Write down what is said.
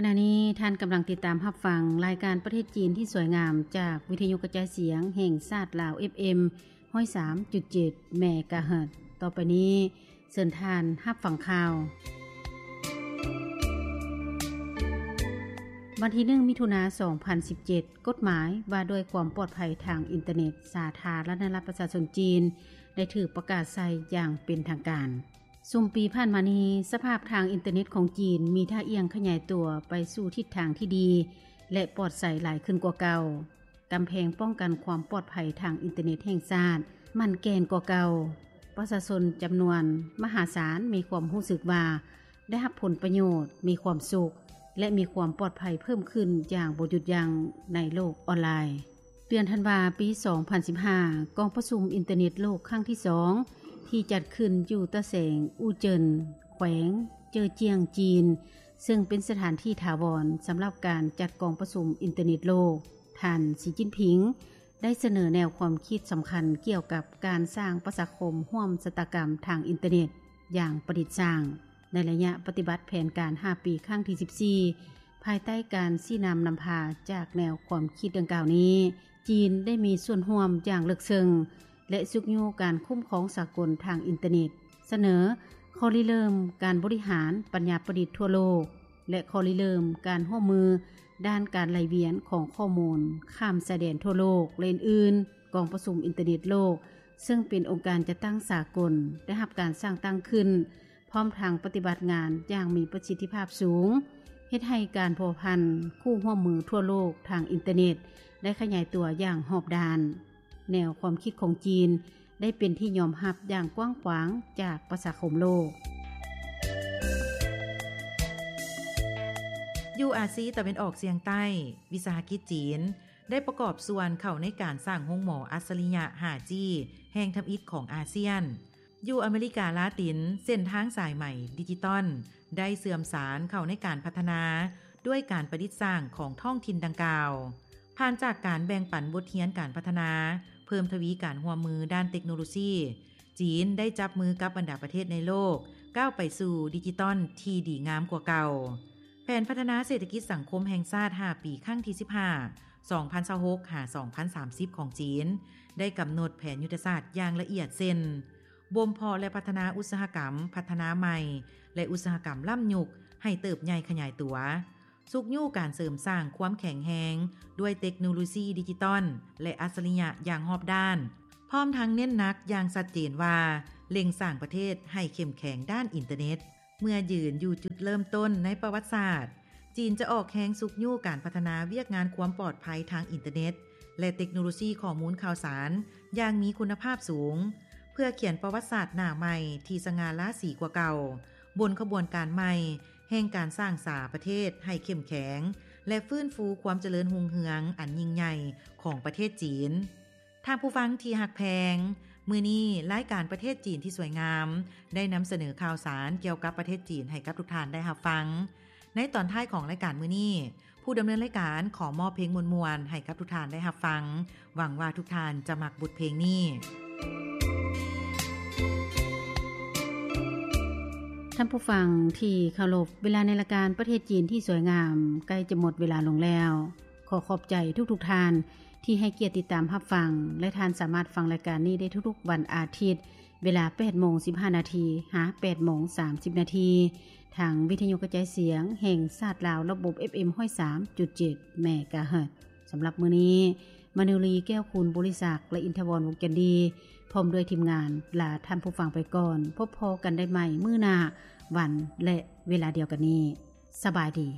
ຂະນະນີ້ທ່ານກຳລັງຕິດຕາມຮັບຟັງລາຍການປະເທດຈີນທີ່ສວຍງາມ ຈາກວິທະຍຸກະຈາຍສຽງແຫ່ງຊາດລາວ ເອັຟເອັມ ຮ້ອຍສາມຈຸດເຈັດ ເມກາເຮີດ. ຕໍ່ໄປນີ້ ເຊີນທ່ານຮັບຟັງຂ່າວ. ວັນທີໜຶ່ງ ມິຖຸນາ ສອງພັນສິບເຈັດ ກົດໝາຍວ່າດ້ວຍຄວາມປອດໄພທາງອິນເຕີເນັດ ສາທາລະນະລັດປະຊາຊົນຈີນ ໄດ້ຖືກປະກາດໃຊ້ຢ່າງເປັນທາງການ. ຊຸມປີຜ່ານມານີ້ ສະພາບທາງອິນເຕີເນັດຂອງຈີນມີທ່າອ່ຽງຂະຫຍາຍຕົວໄປສູ່ທິດທາງທີ່ດີ ແລະ ປອດໃສຫຼາຍຂຶ້ນກວ່າເກົ່າ. ກຳແພງປ້ອງກັນຄວາມປອດໄພທາງອິນເຕີເນັດແຫ່ງຊາດໝັ້ນແກ່ນກວ່າເກົ່າ. ປະຊາຊົນຈຳນວນມະຫາສານມີຄວາມຮູ້ສຶກວ່າໄດ້ຮັບຜົນປະໂຫຍດ, ມີຄວາມສຸກ ແລະ ມີຄວາມປອດໄພເພີ່ມຂຶ້ນຢ່າງບໍ່ຢຸດຢັ້ງໃນໂລກອອນລາຍ. ເດືອນທັນວາ ປີສອງພັນສິບຫ້າ ກອງປະຊຸມອິນເຕີເນັດໂລກຄັ້ງທີສອງ ທີ່ຈັດຂຶ້ນຢູ່ຕາແສງອູ່ເຈິນ ແຂວງເຈີຈຽງ ຈີນ, ເຊິ່ງເປັນສະຖານທີ່ຖາວອນສຳລັບການຈັດກອງປະຊຸມອິນເຕີເນັດໂລກ, ທ່ານ ສີ ຈິ້ນຜິງ ໄດ້ສະເໜີແນວຄວາມຄິດສຳຄັນກ່ຽວກັບການສ້າງປະຊາຄົມຮ່ວມຊະຕາກຳທາງອິນເຕີເນັດຢ່າງປະດິດສ້າງ. ໃນໄລຍະປະຕິບັດແຜນການຫ້າປີຄັ້ງທີສິບສີ່ ພາຍໃຕ້ການຊີ້ນຳນຳພາຈາກແນວຄວາມຄິດດັ່ງກ່າວນີ້, ຈີນໄດ້ມີສ່ວນຮ່ວມຢ່າງເລິກເຊິ່ງ ແລະ ຊຸກຍູ້ການຄຸ້ມຄອງສາກົນທາງອິນເຕີເນັດ, ສະເໜີຂໍ້ລິເລີ່ມການບໍລິຫານປັນຍາປະດິດທົ່ວໂລກ ແລະ ຂໍ້ລິເລີ່ມການຮ່ວມມືດ້ານການໄຫຼວຽນຂອງຂໍ້ມູນຂ້າມຊາຍແດນທົ່ວໂລກ ແລະ ອື່ນໆ. ກອງປະຊຸມອິນເຕີເນັດໂລກ ເຊິ່ງເປັນອົງການຈັດຕັ້ງສາກົນ ໄດ້ຮັບການສ້າງຕັ້ງຂຶ້ນ ພ້ອມທັງປະຕິບັດງານຢ່າງມີປະສິດທິພາບສູງ, ເຮັດໃຫ້ການພົວພັນຄູ່ຮ່ວມມືທົ່ວໂລກທາງອິນເຕີເນັດໄດ້ຂະຫຍາຍຕົວຢ່າງຮອບດ້ານ. ແນວຄວາມຄິດຂອງຈີນໄດ້ເປັນທີ່ຍອມຮັບຢ່າງກວ້າງຂວາງຈາກປະຊາຄົມໂລກ. ຢູ່ອາຊີຕາເວັນອອກສ່ຽງໃຕ້, ວິສາຫະກິດຈີນ ໄດ້ປະກອບສ່ວນເຂົ້າໃນການສ້າງໂຮງໝໍອັດສະລິຍະ ຫ້າຈີ ແຫ່ງທຳອິດຂອງອາຊຽນ. ຢູ່ອາເມລິກາລາຕິນ, ເສັ້ນທາງສາຍໄໝດິຈິຕອນໄດ້ເຊື່ອມສານເຂົ້າໃນການພັດທະນາດ້ວຍການປະດິດສ້າງຂອງທ້ອງຖິ່ນດັ່ງກ່າວ. ຜ່ານຈາກການແບ່ງປັນບົດຮຽນການພັດທະນາ, ເພີ່ມທະວີການຮ່ວມມືດ້ານເຕັກໂນໂລຊີ, ຈີນໄດ້ຈັບມືກັບບັນດາປະເທດໃນໂລກ ກ້າວໄປສູ່ດິຈິຕອນທີ່ດີງາມກວ່າເກົ່າ. ແຜນພັດທະນາເສດຖະກິດສັງຄົມແຫ່ງຊາດຫ້າປີຄັ້ງທີສິບຫ້າ ສອງພັນຊາວຫົກ ຫາ ສອງພັນສາມສິບ ຂອງຈີນ ໄດ້ກຳນົດແຜນຍຸດທະສາດຢ່າງລະອຽດ ເຊັ່ນ ບົ່ມເພາະ ແລະ ພັດທະນາອຸດສາຫະກຳພັດທະນາໃໝ່ ແລະ ອຸດສາຫະກຳລ້ຳຍຸກໃຫ້ເຕີບໃຫຍ່ຂະຫຍາຍຕົວ, ຊຸກຍູ້ການເສີມສ້າງຄວາມແຂງແຮງດ້ວຍເຕັກໂນໂລຊີດິຈິຕອນ ແລະ ອັດສະລິຍະຢ່າງຮອບດ້ານ, ພ້ອມທັງເນັ້ນໜັກຢ່າງຊັດເຈນວ່າ ເລັ່ງສ້າງປະເທດໃຫ້ເຂັ້ມແຂງດ້ານອິນເຕີເນັດ. ເມື່ອຢືນຢູ່ຈຸດເລີ່ມຕົ້ນໃນປະຫວັດສາດ, ຈີນຈະອອກແຮງຊຸກຍູ້ການພັດທະນາວຽກງານຄວາມປອດໄພທາງອິນເຕີເນັດ ແລະ ເຕັກໂນໂລຊີຂໍ້ມູນຂ່າວສານຢ່າງມີຄຸນນະພາບສູງ, ເພື່ອຂຽນປະຫວັດສາດໜ້າໃໝ່ທີ່ສະຫງ່າລາສີກວ່າເກົ່າ, ບົນຂະບວນການໃໝ່ແຫ່ງການສ້າງສາປະເທດໃຫ້ເຂັ້ມແຂງ ແລະ ຟື້ນຟູຄວາມຈະເລີນຮຸ່ງເຮືອງອັນຍິ່ງໃຫຍ່ຂອງປະເທດຈີນ. ທ່ານຜູ້ຟັງທີ່ຮັກແພງ, ມື້ນີ້ລາຍການປະເທດຈີນທີ່ສວຍງາມ ໄດ້ນຳສະເໜີຂ່າວສານກ່ຽວກັບປະເທດຈີນໃຫ້ກັບທຸກທ່ານໄດ້ຮັບຟັງ. ໃນຕອນທ້າຍຂອງລາຍການມື້ນີ້, ຜູ້ດຳເນີນລາຍການຂໍມອບເພງມ່ວນໆໃຫ້ກັບທຸກທ່ານໄດ້ຮັບຟັງ. ຫວັງວ່າທຸກທ່ານຈະມັກບົດເພງນີ້. ທ່ານຜູ້ຟັງທີ່ເຄົາລົບ, ເວລາໃນລາຍການປະເທດຈີນທີ່ສວຍງາມໃກ້ຈະໝົດເວລາລົງແລ້ວ. ຂໍຂອບໃຈທຸກໆທ່ານ ທີ່ໃຫ້ກຽດຕິດຕາມຮັບຟັງ ແລະ ທ່ານສາມາດຟັງລາຍການນີ້ໄດ້ທຸກໆວັນອາທິດ ເວລາແປດໂມງສິບຫ້ານາທີ ຫາ ແປດໂມງສາມສິບນາທີ ທາງວິທະຍຸກະຈາຍສຽງແຫ່ງຊາດລາວ ລະບົບ ເອັຟເອັມ ຮ້ອຍສາມຈຸດເຈັດ ເມກາເຮີດ. ສຳລັບມື້ນີ້, ມະນີລີ ແກ້ວຄູນ ບໍລິສັກ ແລະ ອິນທະວອນ ວົງຈັນດີ ພ້ອມດ້ວຍທີມງານ ລາທ່ານຜູ້ຟັງໄປກ່ອນ. ພົບພໍ້ກັນໄດ້ໃໝ່ມື້ໜ້າ ວັນ ແລະ ເວລາດຽວກັນນີ້. ສະບາຍດີ.